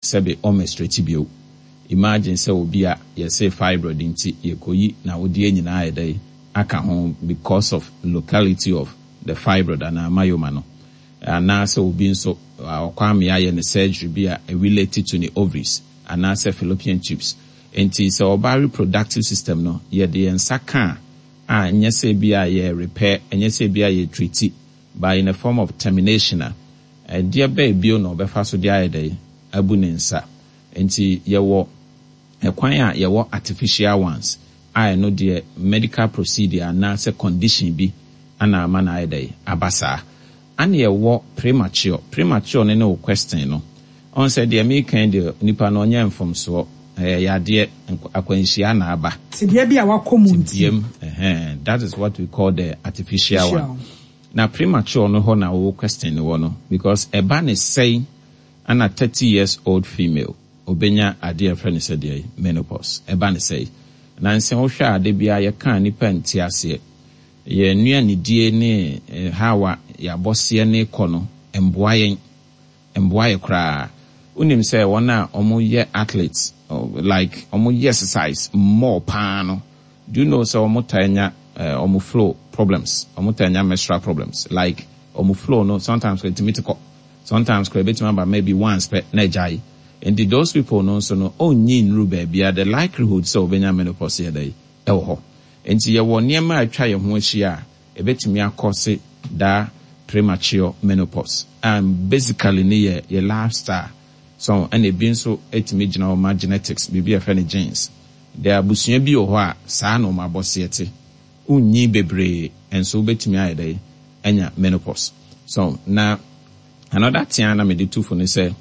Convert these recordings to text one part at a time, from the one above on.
Sɛbe ɔmmɛstretchi bio. Imagine sɛ obi a yɛse fibroid nti yɛkɔyi n'awodeɛ nyinaa ayɛ dɛn aka ho because of locality of the fibroid anaa myoma no. Anaa sɛ obi nso ɔkɔ amea ayɛ no surgery bi a ɛrelate to ne ovaries anaa sɛ fallopian tubes. Nti sɛ ɔbaa reproductive system no yɛde yɛn nsa ka a, a ɛnyɛ sɛ ebia yɛ repair, ɛnyɛ sɛ ebia yɛ treati but in a form of termination a, Ɛdeɛ bɛn bio na ɔbɛfa so de ayɛ dɛn? Abu ne nsa. Nti yɛwɔ ɛkwan a yɛwɔ artificial ones a ɛno deɛ medical procedure anaa sɛ condition bi ana ama no ayɛ dɛn? Aba saa. Ana yɛwɔ premature. Premature no ne wo question no. Ɔhu sɛ deɛ mereka yi deɛ nipa no ɔnyɛ mfomsoɔ. Ɛyɛ yadeɛ, akwanhyia na aba. Tebea bi a wakɔ mu nti. Tebea mu, ɛhɛn. That is what we call the artificial one. Na premature no hɔ na wo question no wɔ no because ɛba ne sɛn ana 30 years old female obenya adeɛ a yɛfrɛ no sɛ deɛn menopause ɛba ne sɛn? Nansa wohwɛ a da biara yɛka a nnipa nte aseɛ yɛn nnuanedie ne how a yɛabɔseɛ no rekɔ no ɛmboa yɛn ɛmboa yɛ koraa wonim sɛ wɔn a wɔyɛ athletes like wɔyɛ exercise more paa no Do you know sɛ wɔn taa nya wɔn flow problems, wɔn taa nya menstrual problems like wɔn flow no sometimes koraa ɛtumi te kɔ, sometimes koraa ɛbɛtumi aba maybe once pɛ na agyae. Nti those people no nso no ɔnnyi nnuru baabiara, the likelihood sɛ wɔbɛnya menopause yɛ dɛn? Ɛwɔ hɔ. Nti yɛwɔ nneɛma a atwa yɛn ho ahyia a ɛbɛtumi akɔse daa premature menopause a basically ne yɛ yɛ lifestyle so ɛna ebi nso ɛtumi gyina hɔ ma genetics, biribi a yɛfrɛ no genes. There abusua bi wɔ hɔ a saa na wɔn abɔseɛ te. Wonnyin bebree nso wobɛtumi ayɛ dɛn anya menopause. So na another thing a na mede tu fo ne sɛ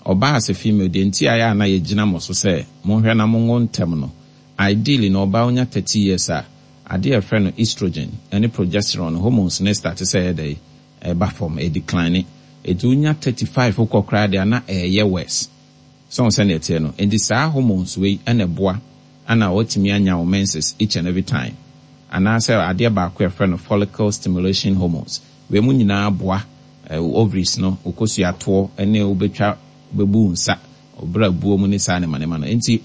ɔbaa as a female deɛ nti a ɛyɛ a na yɛgyina mo so sɛ monhwɛ na monwo ntɛm no, ideally no ɔbaa wonya 30 years a adeɛ a yɛfrɛ no estrogen ne progesterone hormones no starte sɛ ɛyɛ dɛn ɛba fam, ɛdecline. Ɛti wonya 35 wokɔ koraa deɛ a na ɛɛyɛ worse. So wohu sɛnea ɛteɛ no? Enti saa hormones wei na ɛboa na woatumi anya wo menses each and every time. Anaasɛ adeɛ baako a yɛfrɛ no follicle stimulation hormones. Wei mu nyinaa boa wo ovaries no, wo kosua toɔ ne wobɛtwa, wobɛbu wo nsa, wo bra buo mu ne saa nneɛma nneɛma no. Enti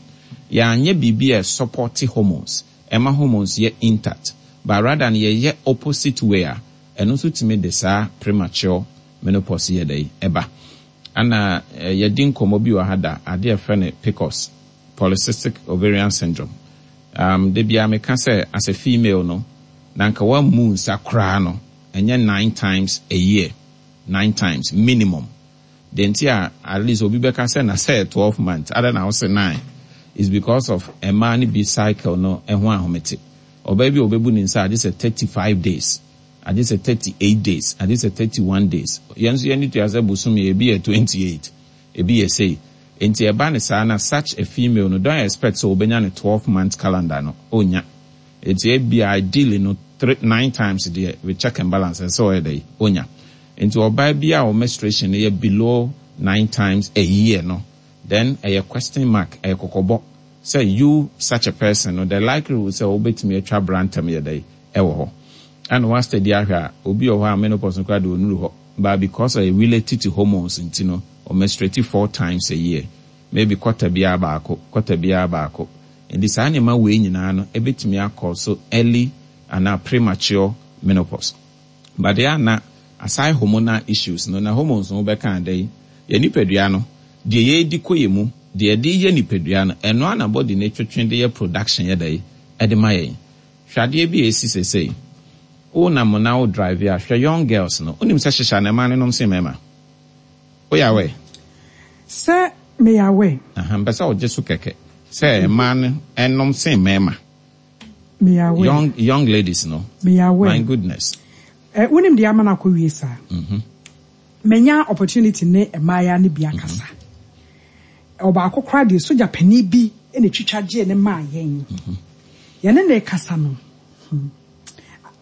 yɛanyɛ biribi a ɛsupporte hormones, ɛma hormones yɛ intact, but rather no yɛyɛ opposite way a, ɛno nso tumi de saa premature menopause yi yɛ dɛn? Ɛba. Ana yɛadi nkɔmmɔ bi wɔ ha da, ade a yɛfrɛ no PCOS, Polycystic Ovarian Syndrome. Um, da biara meka sɛ, as a female no, na anka woammu nsa koraa no, ɛnyɛ nine times a year, nine times minimum. Deɛ nti a at least obi bɛka sɛ na sɛ 12 months, adɛn na wose nine? Is because of mmaa no bi cycle no ho ahomete. Ɔbaa bi a ɔbɛbu ne nsa a, gye sɛ 35 days. Agye sɛ 38 days, agye sɛ 31 days. Yɛn nso yɛn ani tua sɛ bosome ebi yɛ 28, ebi yɛ sei. Enti ɛba no saa na such a female no, don't expect sɛ ɔbɛnya ne 12 month calendar no, ɔnnya. Enti ebia ideally no three, nine times deɛ with check and balance ɛsɛ sɛ ɔyɛ dɛn? Ɔnya. Enti ɔbaa bi a wo menstruation no yɛ below nine times a year no, then ɛyɛ question mark, ɛyɛ kɔkɔbɔ sɛ you such a person no, the likelihood sɛ wobɛtumi atwa bra ntɛm yɛ dɛn? Ɛwɔ hɔ. Ɛna wa study ahwɛ a, obi wɔ hɔ a menopause no koraa deɛ ɔnnuru hɔ, but because ɔyɛ related to hormones nti no, ɔ menstruate four times a year, maybe quarter biara baako, quarter biara baako. Nti saa nneɛma wei nyinaa no ɛbɛtumi a cause early anaa premature menopause. But deɛ a na aside hormonal issues no, na hormones no wobɛka a dɛn? Yɛn nipadua no, deɛ yɛredi kɔ yɛn mu, deɛ yɛde yɛ nipadua no, ɛno ara na body no twetwe de yɛ production yɛ dɛn? Ɛde ma yɛn. Hwɛ adeɛ bi a ɛsi sesei. Wo nam na wo drive a, hwɛ young girls no. Wonim sɛ hyehya na mmaa no nom sen mmarima? Woyɛ aware? Sɛ meyɛ aware. Aha, mpɛ sɛ wogye so kɛkɛ sɛ mmaa no nom sen mmarima. Meyɛ aware. Young, young ladies no. Meyɛ aware. My goodness. Eh, wonim deɛ ama no akɔ wie saa? Mm-hmm. Manya opportunity ne mmaayaa no bi akasa. Ɔbaako koraa deɛ sogya panin bi na ɛtwitwa gyee no maa yɛn. Yɛne no rekasa no, hmm,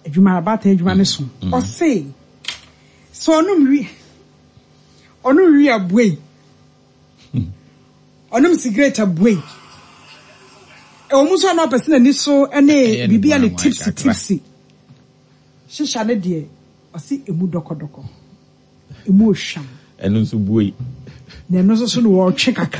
adwuma, abaatan adwuma no so. Ɔse, sɛ ɔnom wi, ɔnom wi abuei, ɔnom sigaret abuei. Ɛwɔ mu nso a na ɔpɛ sɛ n'ani so ne biribi a ne tipsy tipsy. Hyehya no deɛ, ɔse ɛmu dɔkɔdɔkɔ. Emu ohwam. Ɛno nso buei. Na ɛno nso so no wɔretwe kakra.